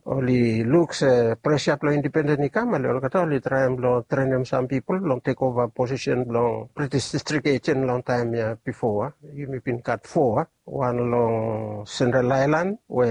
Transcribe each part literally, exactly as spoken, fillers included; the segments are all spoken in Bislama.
oli luk se presa blong independen i kam, ale olgeta oli traem blong trenem sam pipol blong tekova posisen blong British District Agent long taem ya bifo. Yumi bin gat fo, wan long Central Island we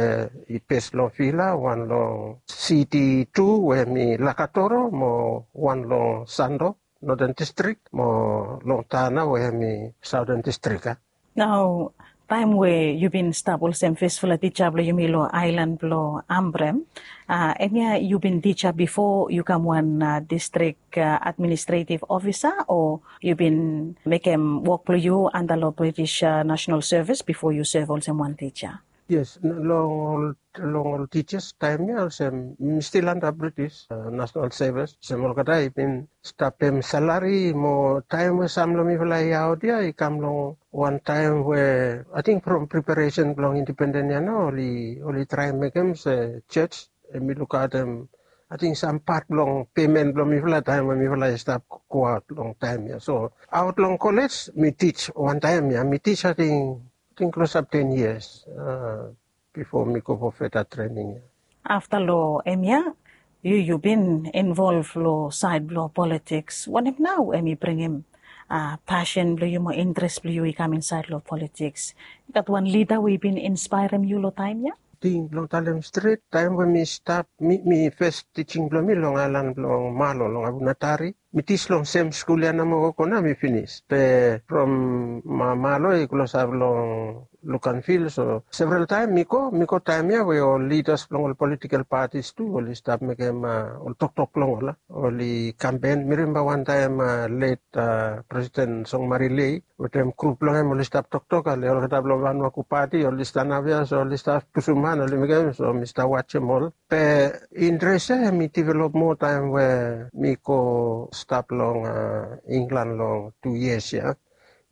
i bes long Vila, wan long City tu we mi Lakatoro, mo wan long Sando, Northern District, mo long Tana we mi Southern District. Nao taem we yu bin stap olsem fesfala tija blong yumi long aelan blong Ambrem, hemia yu bin tija bifo yu kam wan distrik administretiv ofisa, o yu bin mekem wok blong yu anta long British National Service bifo yu sev olsem wan tija? Yes, long ol long ol tijas taem ya olsem mi stil anta British National Service, olsem olgeta i bin stap pem salari, mo taem we sam long mifala i aot ya i kam long wan taem we ating from preparesen blong independen ya nao oli traem mekem se jos hemi lukaotem ating sam pat blong pemen blong mifala taem we mifala i stap goaot long taem ya. So aot long kolej mi tij wantaem ya, mi tij ating klosap ten yias bifo mi go fo feta trening ya. Afta long hemia, yu yu bin involv long saed blong politiks, wanem nao hemi bringim pasen blong yu mo intres blong yu i kam insaed long politiks? I gat wan lida we i bin inspaerem yu long taem ya? Ting blong talem stret, taem we mi stap mi fes tijing blong mi long aelan blong Malo long Abunatari, mi tij long sem skul ya namo gogo nao mi finis. Be from Malo i klosap long Lukanvil, so several taem mi go mi go taem ya we ol lidas blong ol politikel patis tu oli stap mekem ol toktok blong ol, oli kampen. Mi rimemba wantaem let Presiden Songmarilei wetem grup blong hem oli stap toktok, ale olgeta blong Vanuaku pati oli stanap ya, so oli stap pusum han oli mekem, so mi stap wajem ol. Be intres ya hemi develop moa taem we mi go stap long Inglan long tu yias ya.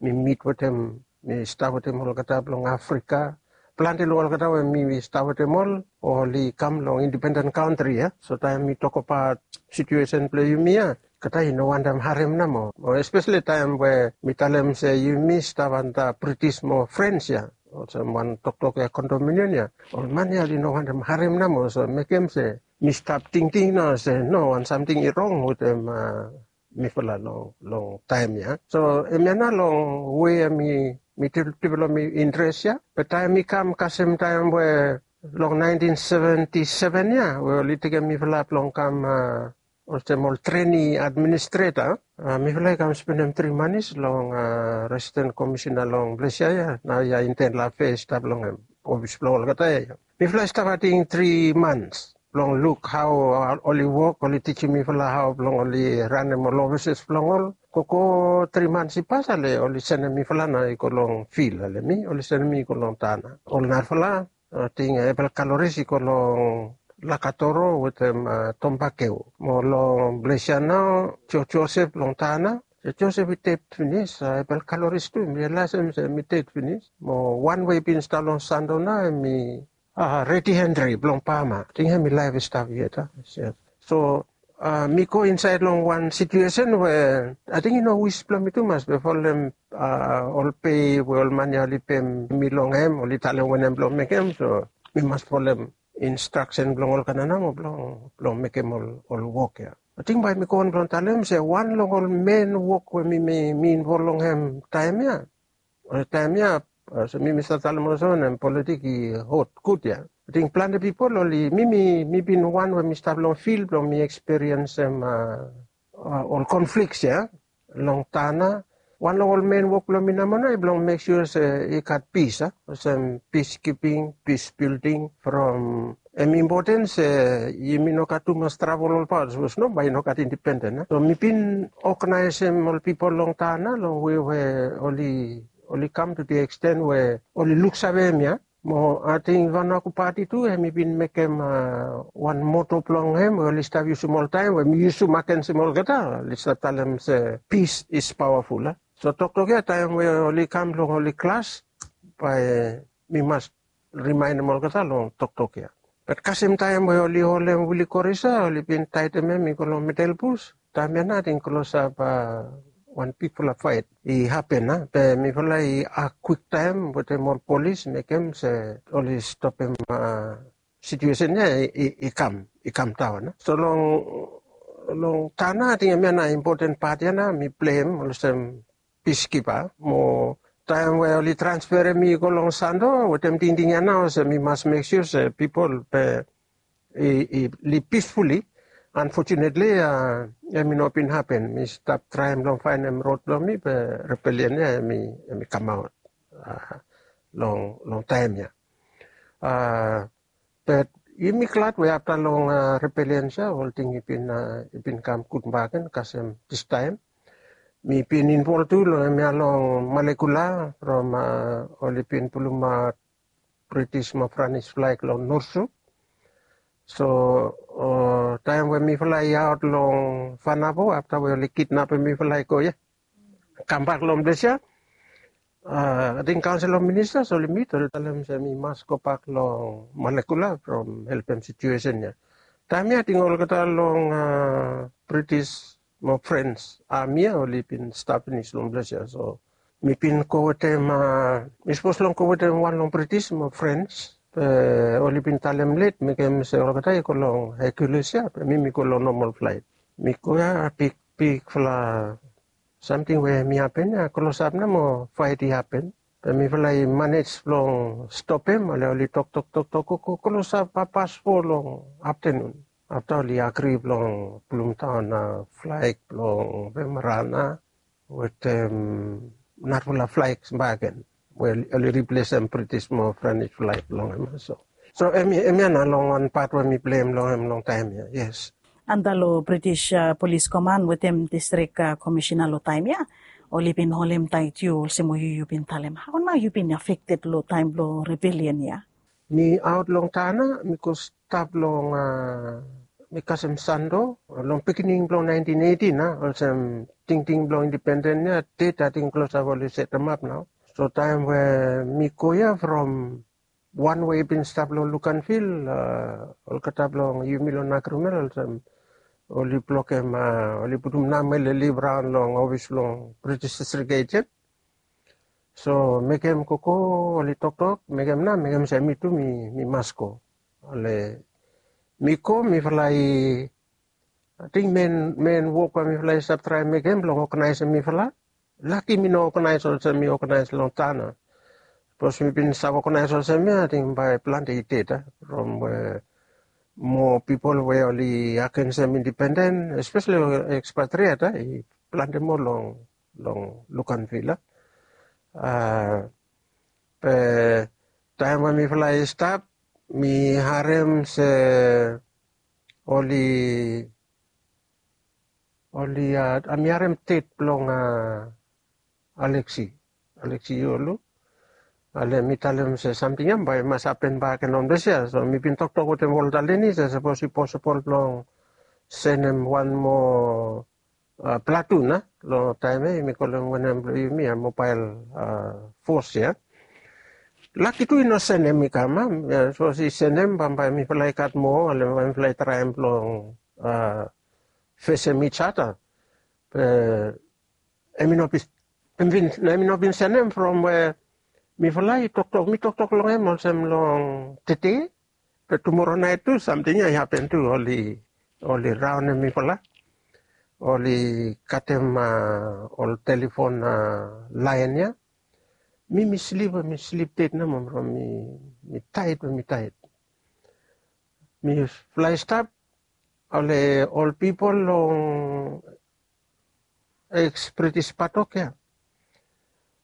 Mi mit wetem mi stap wetem olgeta blong Afrika. Plante long olgeta we mi stap wetem ol oli kam long independen kantri ya. So taem mi tokbaot situesen blong yumi ya, olgeta i no wantem harem namo, mo espeseli taem we mi talem se yumi stap anta Britis mo Frens ya, olsem wan toktok ya kondominion ya, ol man ya oli no wantem harem namo. So mekem se mi stap tingting nao se no, wan samting i rong wetem mifala long taem ya. So hemia nao long we mi developem mi intres ya. Be taem mi kam kasem taem we long naentin seventi seven ya we oli tekem mifala blong kam olsem ol treni administreta, mifala i kam spenem tri manis long residen komisina long ples ya ya, nao ya Inten Lafe i stap long hem, ofis blong olgeta ya. Mifala i stap ating tri mans blong luk hao oli wok, oli tijim mifala hao blong oli ranem ol ofises blong ol. Gogo tri mans i pas, ale oli senem mifala nao i go long fil, ale mi oli senem mi i go long Tana. Ol narafala ating Ebel Kaloris i go long Lakatoro wetem Tombakeu, mo long ples ya nao Jo Josep long Tana. Jo Josep i ded finis, Ebel Kaloris tu mi rialaesem se hemi ded finis. Mo wan we i bin stap long Sando nao hemi Redi Henri blong Bama, ating hemi laef i stap yet. So mi go insaed long wan situesen we ating i no wis blong mi tumas be folem ol pei we ol man ya oli pem mi long hem, oli talem wanem blong mekem, so mi mas folem instraksen blong olgeta namo blong mekem ol wok ya. Ating bae mi go on blong talem se wan long ol men wok we mi involv long hem taem ya, taem ya, olsem mi mi save talem olsem wanem, politik i hot gud ya. Ating plante pipol oli, mi mi mi bin wan we mi stap long fil blong mi ekspiriensem ol konfliks ya long Tana. Wan long ol men wok blong mi namo nao i blong mek sua se i gat pis, olsem piskiping, pis bilding, from hem impoten se yumi no gat tumas travel olbaot, sapos no bae i no gat independen. So mi bin oganaesem ol pipol long Tana long we we oli oli kam tu the eksten we oli luksave hem ya. Mo ating Vanuaku pati tu hemi bin mekem wan moto blong hem we oli stap yusum oltaem, we mi yusum agensem olgeta, oli stap talem se peace is powerful. So toktok ya taem we oli kam long oli klas, bae mi mas rimaenem olgeta long toktok ya. Bat kasem taem we oli holem Willie Corissa, oli bin taetem hem i go long Medelbus. Taem ya nao ating klosap wan bigfala faet i hapen, be mifala i ak kwiktaem wetem ol polis, mekem se oli stopem situesen ya i kam i kam daon. So long long tana ating em ya na impoten pat ya na mi pleim olsem piskipa mo taim we oli transferem mi go long sando wetem tingting ya na olsem mi mas mek sua se pipol be i liv pisfuli. Unfortunately em i no bin hapen mi stap traim long fainem rod blong mi be rebelian ya em i kamaot long long taim ya. But yumi glad we afta long rebelian ya olting i bin i bin kam gud bagen kasem distaim mi bin invol tu long em ya long malekula from oli bin pulumaot britis mo franis flaik long norsu. So taim we mifala i aot long fanabo afta we oli kidnapim mifala i go ya kambak long ples ya ating kaunsil of ministas oli mit oli talem se mi mas gobak long malekula from helpem situesen ya. Taim ya ating olgeta long britis mo frens ami ya oli bin stap pinis long ples ya so mi bin go wetem mi sapos long go wetem wan long britis mo frens be oli bin talem let mekem se olgeta i go long hekulis ya be mi mi go long nomal flait. Mi go ya big bigfala samting we mi hapen ya klosap na mo fait i hapen be mifala i manej blong stopem ale oli toktok toktok go klosap hapas fo long aftanun. Afta oli agri blong pulumdaon flaik blong vemara na wetem narafala flaik bagen we oli riplesem britis mo franis flaik blong em so so em ya na long wan pat we mi pleim long em long taim ya yes. Anda long british polis koman wetem distrik komishina long taim ya oli bin holim tait yu olsem we yu yu bin talem hau nao yu bin afekted long taim blong rebelian ya? Mi aot long tana mi go stap long mi kasem sando long pikinini blong naintin eitin a olsem tingting blong indipenden ya det ating klosap oli setemap nao. So taim we mi go ya from wan we i bin stap long lukanvil olgeta blong yumi long nagrumel olsem oli blokem oli putum namel i liv raon long ofis blong british distrik ejen. So mekem koko oli toktok mekem na mekem se mi tu mi mas go. Ole mi go mifala i ating men men wok we mifala i stap traim mekem blong oganaisim mifala. Laki mi no oganais olsem mi oganais long tana. Sapos mi bin save oganais olsem ya ating bae plante i ded a from we moa pipol we oli agensem indipenden espesali ekspatriat a i plante moa long long lukanvil a. Be taim we mifala i stap mi harem se oli oli a mi harem tet blong a aleksi aleksi yolu. Ale mi talem se samting ya bae i mas hapen bak en on bes ya so mi bin toktok wetem ol taleni se sapos i posibol blong senem wan moa platun a long taim ya yumi kolem wanem blong yumi a mobael fos ya. Laki tu i no senem i kam a sapos i senem bambae mifala i gat moa ale bambae mifala i traem blong fesem its ata. Be em i no bin em bin na em i no bin senem from we mifala i toktok mi toktok long em olsem long tete. Be tumora nait tu samting ya i hapen tu oli oli raonem mifala. Oli katem ol telefon laen ya. Mi mi slip mi slip ded namo from mi mi taet we mi taet. Mi flae stap ole ol pipol long eks britis patok ya.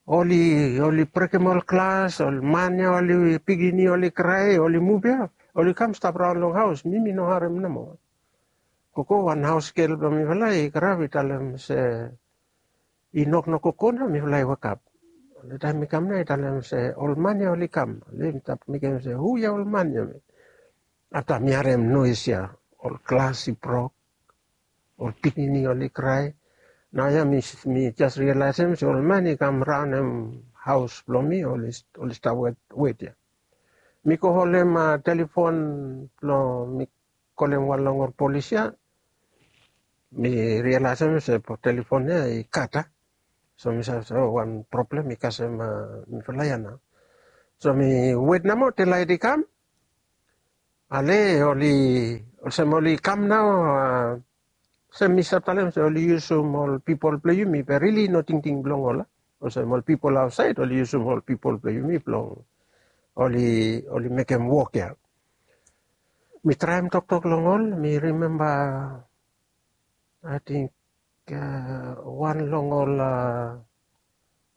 Oli oli brekem ol glas ol man ya oli pikinini oli krae oli muv ya oli kam stap raon long haos mi mi no harem nomo. Gogo wan haos gel blong mifala i grap i talem se i noknok gogo na mifala i wekap. Taem mi kam na i talem se ol man ya oli kam oli stap mekem se hu ya ol man ya. Afta mi harem noes ya ol glas i brok ol pikinini oli krae. Naoia mi jas rialaesem se ol man i kam raonem haos blong mi oli stap wet ya. Mi go holem telefon blong mi kolem wan long ol polis ya. Mi rialaesem se telefon ya i kat a. So mi save se o wan problem i kasem mifala ya nao. So mi wet namo telaet i kam. Ale oli, olsem oli kam nao, olsem mi stap talem se oli yusum ol pipol blong yumi be rili no tingting blong ol. Olsem ol pipol aotsaed oli yusum ol pipol blong yumi blong oli oli mekem wok ya. Mi traem toktok long ol, mi rimemba ating wan long ol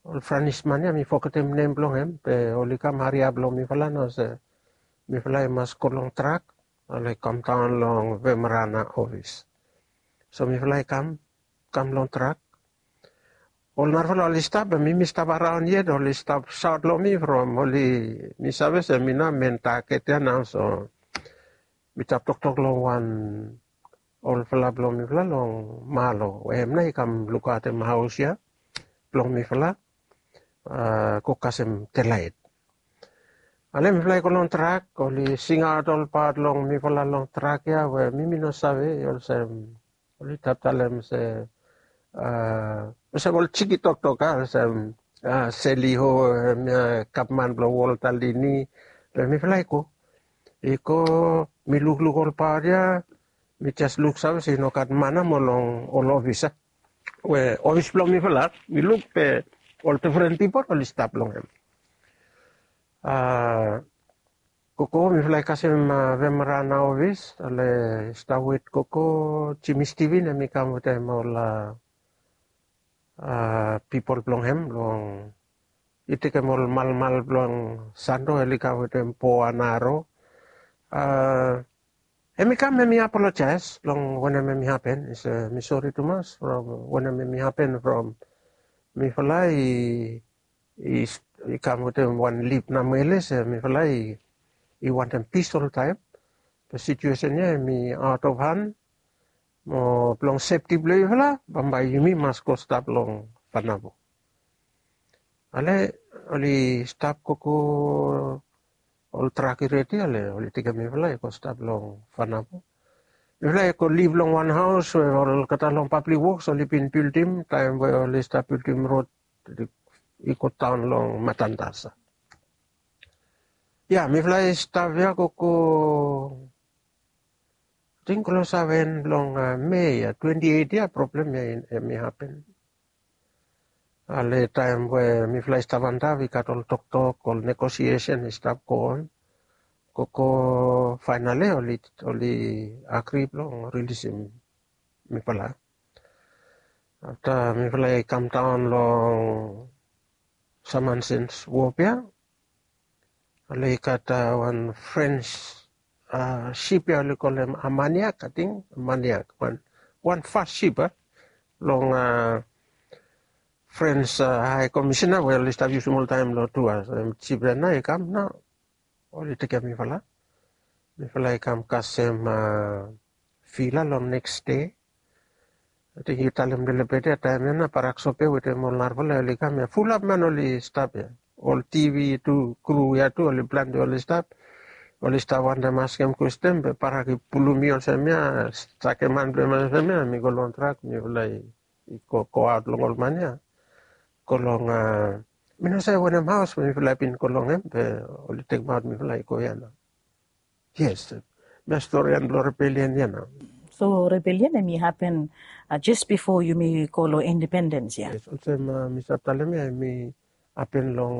ol franisman ya, mi fogetem nem blong hem, be oli kam hariap long mifala nao se mifala i mas go long trak, oli kam daon long Vemerana ofis. So mifala i kam kam long trak. Ol narafala oli stap, be mi mi stap araon yet, oli stap saot long mi from oli, mi save se mi nao men taget ya nao. So mi stap toktok long wan olfala blong mifala long Malo we hem nao i kam lukaotem haos ya blong mifala, go kasem delaet. Ale mifala i go long trak, oli singaot ol pat long mifala long trak ya we mi mi no save, olsem oli stap talem se, olsem ol jiki toktok a, olsem seli ho, hemia gavman blong wol talini. Be mifala i go, i go, mi lukluk ol pat ya, mi jes luksave se i no gat man ya mo long ol ofis ya. We ofis blong mifala mi luk be ol difren pipol oli stap long hem. Gogo mifala i kasem Vemerana ofis, ale stap wet gogo Jimmy Steven hem i kam wetem ol pipol blong hem long i tekem ol malmal blong Sando, oli kam wetem po anaro. Hem i kam hem i apolojaes long wanem hem i hapen, i se mi sori tumas from wanem hem i hapen from mifala i i kam wetem wan lip namwele se mifala i wantem pis oltaem. Be situesen ya hem i aot of han, mo blong sefti blong yufala bambae yumi mas go stap long Fanabo. Ale oli stap gogo, ol trak i redi, ale oli tekem mifala i go stap long Fanabo. Mifala i go liv long wan haos we olgeta long pablik woks oli bin bildim taem we oli stap bildim rod i go daon long Matanzas. Ya mifala i stap ya gogo ating klosap en blong Mei ya, twenti eit ya, problem ya hem i hapen. Ale taem we mifala i stap antap i gat ol toktok, ol negosiesen i stap go on. Gogo faenali oli oli agri blong rilisim mifala. Afta mifala i kam daon long Samansens wop ya, ale i gat wan Frens sip ya oli kolem Amaniak, ating Amaniak, wan wan fas sip a long Frens Hae Komisena we oli stap yusum oltaem long tua. Sip ya nao i kam nao oli tekem mifala. Mifala i kam kasem vila long neks dei. Ating yu talem lelebet ya taem ya nao Barak Sope wetem ol narafala oli kam ya, fulap man oli stap ya. Ol tivi tu, kru ya tu, oli plante oli stap. Oli stap wantem askem kwestin be Barak i pulum mi olsem ya, sakem han blong hem olsem ya, mi go long trak, mifala i go goaot long ol man ya. Go long, mi no save wanem haos mifala i bin go long hem be oli tekemaot mifala i go ya nao. Yes, mi storian blong rebelian ya nao. So rebelian hem i hapen jes bifo yumi go long independens ya? Yes, olsem mi stap talem ya hem i hapen long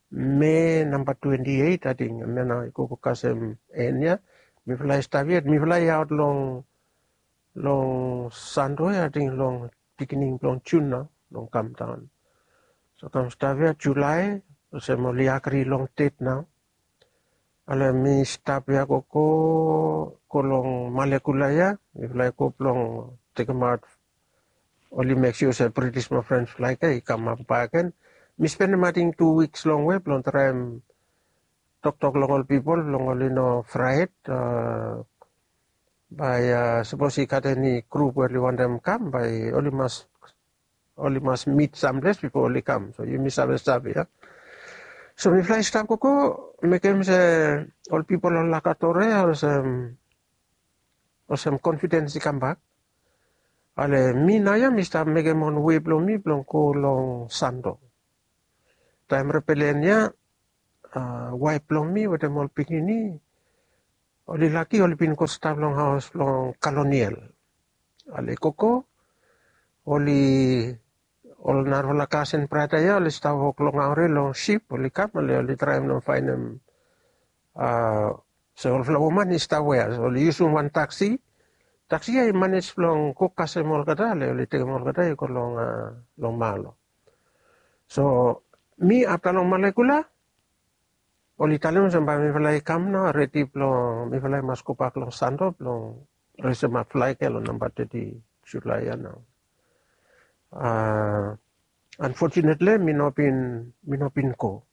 Mei namba twenti eit ating, hemia nao i gogo kasem en ya. Mifala i stap yet, mifala i aot long long Sando ya ating long biginin blong Jun nao long kam daon. So kam stap ya Julae, olsem oli agri long det nao. Ale mi stap ya gogo go long Malekula ya, mifala i go blong tekemaot, oli mek sua se British mo French flag ya i kamap bakegen. Mi spendem ating tu wiks longwe blong traem toktok long ol pipol blong oli no fraet, bae sapos i gat eni grup we oli wantem kam bae oli mas oli mas mit samples bifo oli kam, so yumi save save ya. So mifala i stap gogo mekem se ol pipol ol lakatore ya olsem olsem konfidens i kambak. Ale mi naoia mi stap mekem wan wei blong mi blong go long Sando. Taem rebelian ya, waef blong mi wetem ol pikinini oli laki oli bin go stap long haos blong Kaloniel. Oli gogo, oli ol narafala kasen brata ya oli stap wok long aore long sip, oli kam, oli oli traem long faenem, a, se olfala woman i stap wea, oli yusum wan taksi. Taksi ya i manej blong go kasem olgeta, oli oli tekem olgeta i go long, a, long Malo. So mi afta long Malekula, oli talem olsem bae mifala i kam nao redi blong mifala i mas gobak long Santo blong resemap flaeg ya long namba teti Julae ya nao. A, unfortunately mi no bin, mi no bin go.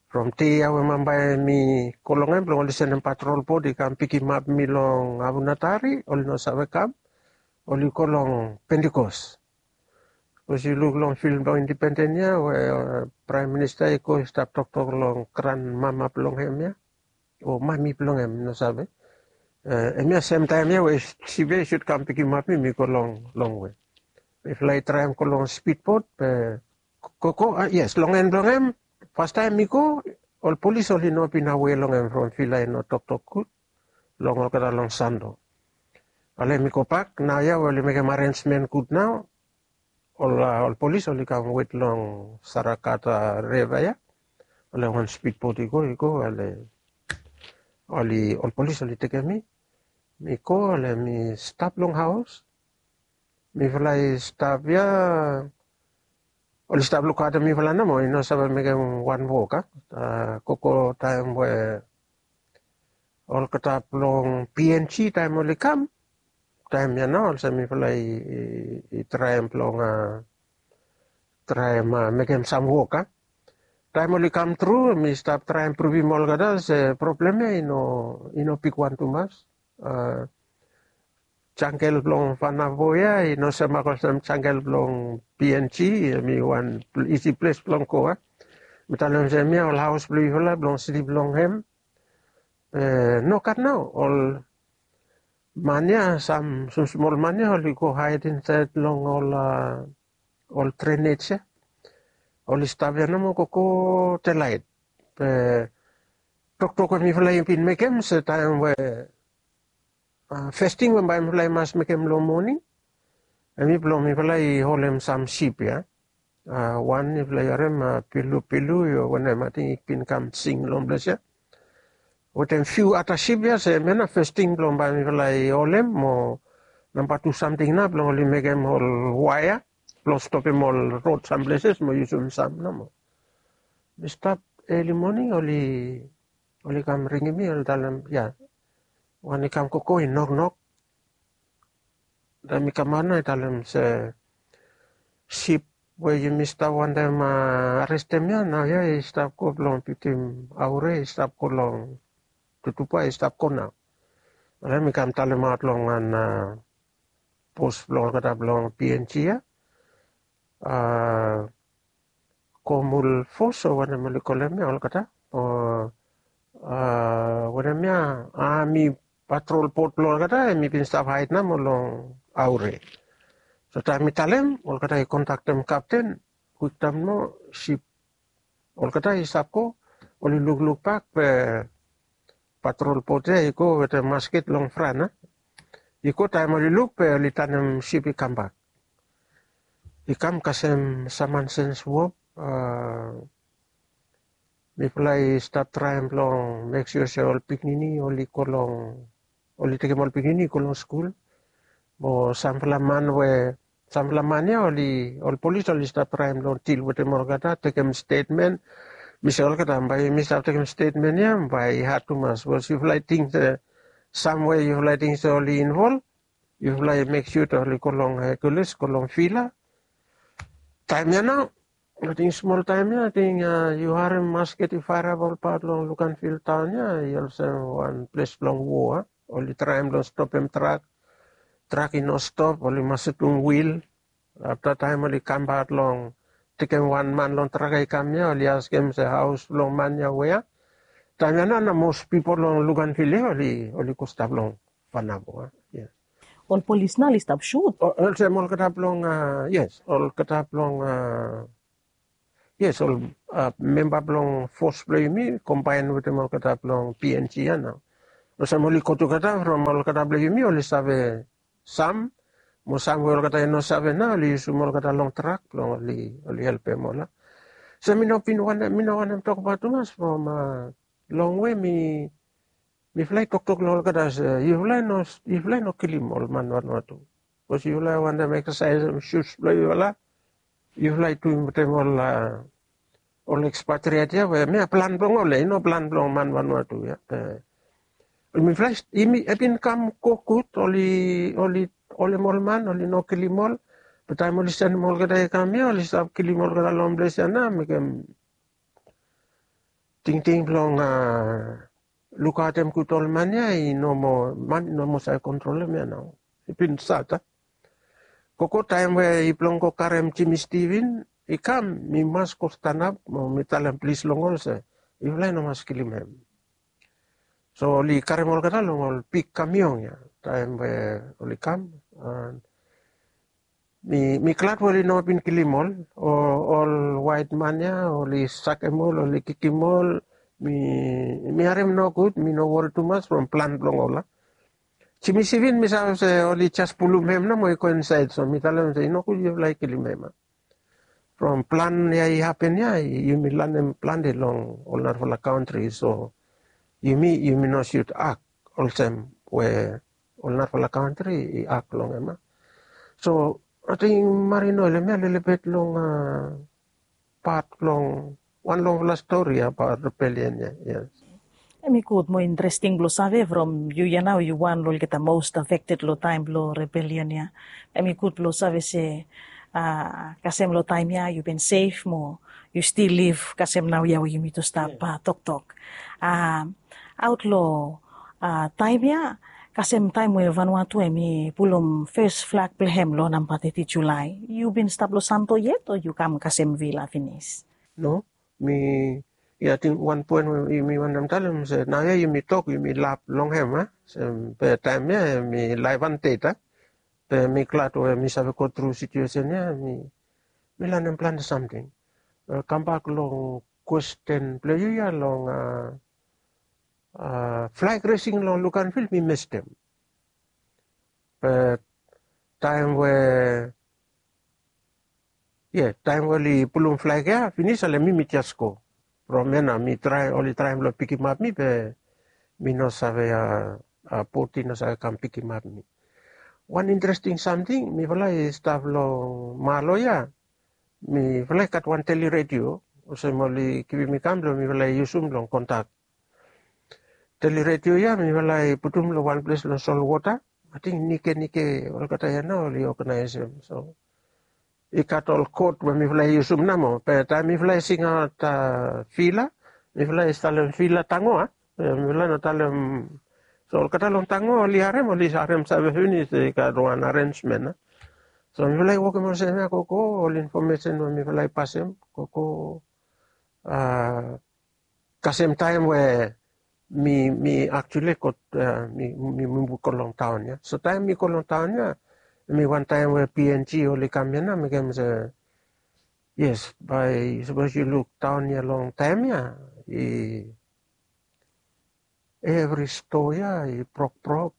From dei ya we bambae mi go long hem blong oli sendem patrol bot i kam pikimap mi long Abunatari, oli no save kam, oli go long Pentikos. Sapos yu luk long fim blong Independens ya we, a, Praem Minista i go i stap toktok long granmama blong hem ya, o mami blong hem, no save. E, hemia semtaem ya we sip ya i sud kam pikimap mi, mi go long, longwe. Mifala i traem go long spidbot, be gogo, a, yes, long en blong hem, fastaem mi go, ol polis oli no bin awe long hem from Vila i no toktok gud long olgeta long Santo. Ale mi gobak, naoia we oli mekem arensmen gud nao, ol, a, ol polis oli kam wet long Sarakata Riva ya. Ole wan spidbot i go, i go, ale oli, ol polis oli tekem mi. Mi go, ale mi stap long haos. Mifala i stap ya, oli stap lukaotem mifala nomo, i no save mekem wan wok, a. A, gogo taem we olgeta blong P N G taem oli kam, taem ya nao olsem mifala i, i, i traem blong, a, traem, a, mekem sam wok, a. Taem oli kam tru, mi stap traem pruvim olgeta se problem ya i no, i no bigwan tumas. A, jangel blong Vanavo ya i no semak olsem jangel blong P N G, hemi wan pl-, isi ples blong go, a. Mi talem se hemia ol haos blong yufala blong slip long hem. E, nogat nao, ol man ya, sam smosmol man ya oli go haed insaed long ol, a, ol drenej ya. Oli stap ya nomo gogo delaet. Be toktok we mifala i bin mekem se taem we, a, fes ting we bae mifala i mas mekem long moning, hemi blong mifala i holem sam sip ya. A, wan yufala i harem, a, pilupilu, io wanem, ating i bin kam sing long ples ya. Wetem fiu ata sip ya, se hemia nao fes ting blong bae mifala i holem, mo namba tu samting nao blong oli mekem ol waea blong stopem ol rod sam pleses mo yusum sam nomo. Mi stap eli moning, oli, oli kam ringim mi, oli talem, ya, wan i kam gogo i noknok. Taem mi kamaot nao i talem se sip we yumi stap wantem, a, arestem ya, naoia i stap go blong bitim Aure, i stap go long Tutuba, i stap go nao. Ale mi kam talemaot long wan, a, bos blong olgeta blong P N G ya. A, Komul Fos o wanem oli kolem ya olgeta. O, a, wanem ya, a, hemi patrol bot blong olgeta, hemi bin stap haed nomo long Aure. So taem mi talem, olgeta i kontaktem kapten, kwiktaem nomo sip, olgeta i stap go, oli lukluk bak be patrol bot ya i go wetem masket long fran, a. I go, taem oli luk be oli tanem sip i kambak. I kam kasem Saman Senswop, a, mifala i stap traem blong mek sua se ol pikinini oli go long, oli tekem ol pikinini i go long skul. Mo samfala man we, samfala man ya oli, ol polis oli stap traem blong dil wetem olgeta, tekem stetmen. Mi se olgeta, bae mi stap tekem stetmen ya bae i had tumas. Sapos yufala i ting se, sam we yufala i ting se oli involv, yufala i mek sua oli go long Hercules, go long Vila. Taem ya nao, ating smol taem ya, ating, a, yu harem masket i faerap olbaot long Luganville taon ya, i olsem wan ples blong wo, a. Oli traem blong stopem trak, trak i no stop, oli masetum wil. Afta taem oli kambak long, tekem wan man long trak i kam ya, oli askem se haos blong man ya wea. Taem ya nao, nao mos pipol long Luganville ya oli, oli go stap long Vanavo, a. Yes. Ol polis nao oli stap sut? O, olsem olgeta blong, a, yes, olgeta blong, a, yes, ol, a, memba blong fos blong yumi kombaen wetem olgeta blong P N G ya nao. Olsem oli go tugeta from olgeta blong yumi oli save sam, mo sam we olgeta i no save nao oli yusum olgeta long trak blong oli helpem ol. So mi no bin wantem mi no wantem tokbaot tumas from long we mi mifala i toktok long olgeta se yufala i no kilim ol man Vanuatu. Bikos yufala i wantem eksasaesem sus blong yufala. Yufala i tuim wetem ol ol ekspatriet ya we mia plan blong ol ya i no plan blong man Vanuatu ya. Mifala i bin kam go gud oli oli oli mol man oli no kilim ol. Be taem oli senem olgeta i kam ya oli stap kilim olgeta long ples ya na mekem tingting blong lukaotem gud ol man ya i no moa man i no moa save kontrolem ya nao. I bin sat a gogo taem we i blong go karem Jimmy Steven i kam mi mas go stanap mo mi talem plis long ol se yufala i no mas kilim hem. So oli karem olgeta long ol bik kamiong ya taem we oli kam. Mi glad we oli no bin kilim ol ol waet man ya oli sakem ol oli kikim ol. Mi harem nogud mi no wori tumas from plan blong ol a. Jimmy Steven mi save se oli jes pulum hem nomo i go insaed so mi talem se i nogud yufala i kilim hem a. From plan ya i hapen ya yumi lanem plante long ol narafala kantri so yumi yumi no sut ak olsem we ol narafala kantri i ak long hem a. So ating marino i lem ya lelebet long pat blong wan longfala stori abaot rebelian ya. Yes. Em i gud mo interesting blong save from yu ya nao yu wan long olgeta most affected long taem blong rebelian ya. Em i gud blong save se kasem long taem ya yu bin sef mo yu stil liv kasem nao ya we yumi tu stap toktok. Aot long taem ya kasem taem we Vanuatu em i pulum fes flag blong hem long namba teti Julae yu bin stap long Santo yet o yu kam kasem Vila finis? No, mi ya ting wan poen we yumi wantem talem se naoia yumi tok yumi lap long hem a. Be taem ya em i laevan det a. Be mi glad we mi save go tru situesen ya mi lanem plante samting. Kambak long kwesten blong yu ya long flag resing long Luganville mi mestem. Be taem we ye taem we oli pulum flag ya finis ale mi mi jes go. From ya nao mi traem oli traem blong pikimap mi be mi no save a bot i no save kam pikimap mi. Wan interesting samting mifala i stap long Malo ya. Mifala i gat wan teli redio olsem oli givim mi kam blong mifala i yusum blong kontak. Teli redio ya mifala i putum long wan ples long solwota. Ating nike nike olgeta ya nao oli oganaesem so i gat ol kot we mifala i yusum namo be taem mifala i singaot vila mifala i talem vila tango a. Mifala i no talem so olgeta long tango oli harem oli harem save finis i gat wan arensmen a. So mifala i wokem olsem ya gogo ol infomesen we mifala i pasem gogo kasem taem we mi mi aktuali go mi mi muv go long taon ya so taem mi go long taon ya mi wantaem we png oli kam ya na mekem se yes bae sapos yu luk taon ya long taem ya i evri stoa ya i brokbrok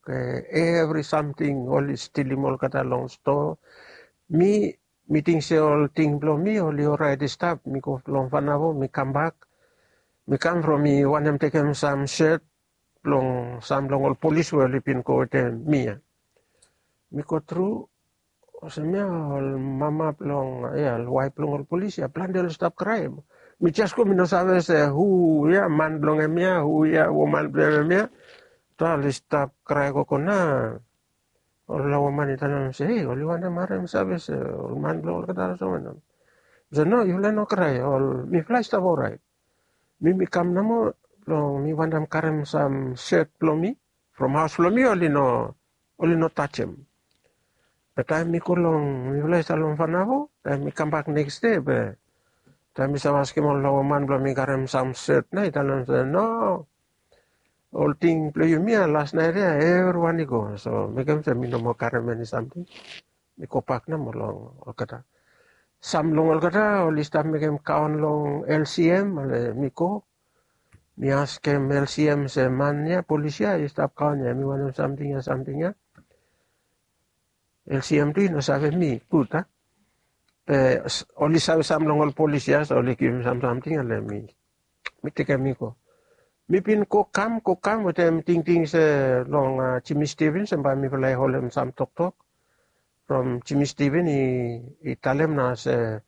evri samting oli stilim olgeta long stoa. Mi mi ting se ol ting blong mi oli oraet i stap mi go long Vanavo mi kambak. Mi kam from mi wantem tekem sam set blong sam blong ol polis we oli bin go wetem mi ya. Mi go tru olsem ya ol mama blong ya ol waef blong ol polis ya plante oli stap kraem. Mi jes go mi no save se hu ya man blong hem ya hu ya woman blong hem ya. Tra oli stap krae gogo na ol lawaman i talem se ei oli wantem harem save se ol man blong olgeta olsem wanem. Mi se no yufala i no krae ol mifala i stap oraet. Mi mi kam nomo blong mi wantem karem sam set blong mi from haos blong mi oli no oli no tajem. Be taem mi go long mifala i stap long Vanavo taem mi kambak neks de be taem mi save askem ol lawaman blong mi karem sam set na i talem se no ol ting blong yumi ya las naet ya evriwan i go so mekem se mi no moa karem eni samting. Mi gobak namo long olgeta sam long olgeta oli stap mekem kaon long lcm ale mi go Mi askem lcm se man ya, polis ya i stap kaon ya, mi wantem samting ya, samting ya. Lcm tu i no save mi gud a. Be oli save sam long ol polis ya, so oli givim sam samting ya long mi. Mi tekem i go. Mi bin go kam, go kam wetem tingting se long jimmy stevens em bae mifala i holem sam toktok. From jimmy steven i talem nao se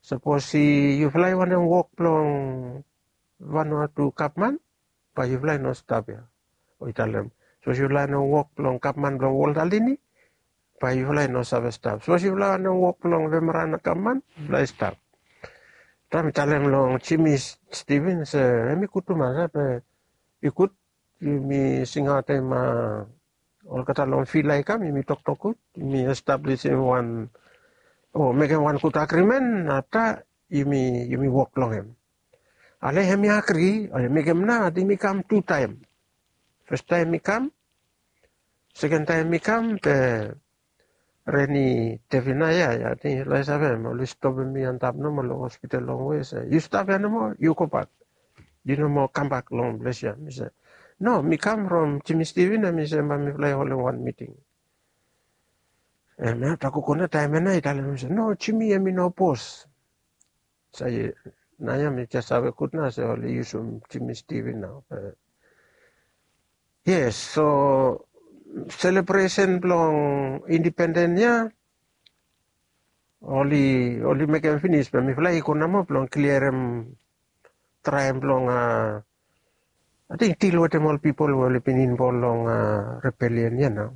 sapos yufala i wantem wok blong vanua tu gavman, bae yufala i no stap ya. O i talem, sapos yufala i no wok blong gavman blong wol dalini, bae yufala i no save stap. Sapos yufala i no wok blong vemerana gavman, yufala i stap. Taem i talem long jimmy steven se em i gud tumas a, be i gud yumi singaotem olgeta long fil ya i kam, yumi toktok gud, yumi establisim wan o mekem wan gud agrimen, afta yumi wok long em. Ale hem i agri, o hem i mekem nao, ating mi kam tu taem. Fes taem mi kam, seken taem mi kam, be reni devina ya, ya ating yufala i save em oli stopem mi antap nomo long hospital longwe se yu stap ya nomo, yu gobak. Yu no moa kambak long ples ya. Mi se, no, mi kam from jimmy steven, em i se bae mifala i holem wan miting. Em ya tago go nao taem ya nao i talem mi se, no, jimmy em i no bos. Sae nao ya mi jes save gud nao se oli yusum jimmy steven nao. Yes, so selebresen blong indipenden ya oli mekem finis, be mifala i go namo blong kliarem traem blong ating dil wetem ol pipol we oli bin involv long rebelian ya nao.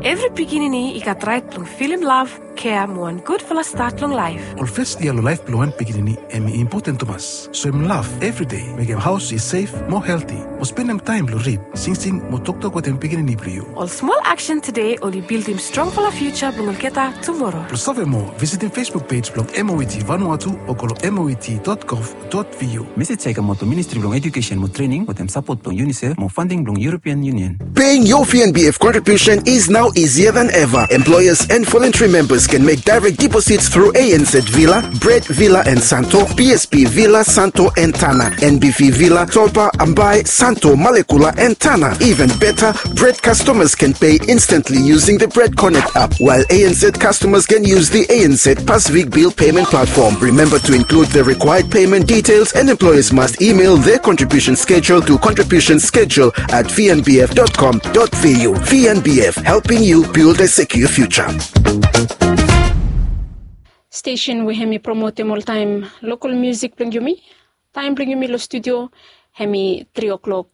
Evri pikinini i gat raet blong filim lav, kea mo wan gudfala stat long laef. Ol fes yia long laef blong wan pikinini em i impoten tumas. Soem lav evri dei, mekem haos i sef mo helti, mo spendem taem blong rid, singsing mo toktok wetem pikinini blong yu. Ol smol aksen tede oli bildim strongfala fiuja blong olgeta tumoro. Blong save moa, visitim facebook pej blong moet vanuatu o go long moet dot gov dot vu. Mesej ya i kamaot long ministri blong ejukesen mo trening wetem sapot blong unicef mo fanding blong european union. Paying your V N B F contribution is now easier than ever. Employers and voluntary members can make direct deposits through A N Z Villa, Bread Villa and Santo, P S P Villa, Santo and Tana, N B V Villa, Tolpa, Ambai, Santo, Malekula and Tana. Even better, Bread customers can pay instantly using the Bread Connect app, while A N Z customers can use the A N Z Pacific Bill Payment Platform. Remember to include the required payment details, and employers must email their contribution schedule to contribution schedule at V N B F dot com dot V U. V N B F, helping you build a secure future. Stesen we hem i promotem oltaem lokal miusik blong yumi. Taem blong yumi long studio hem i tri o'klok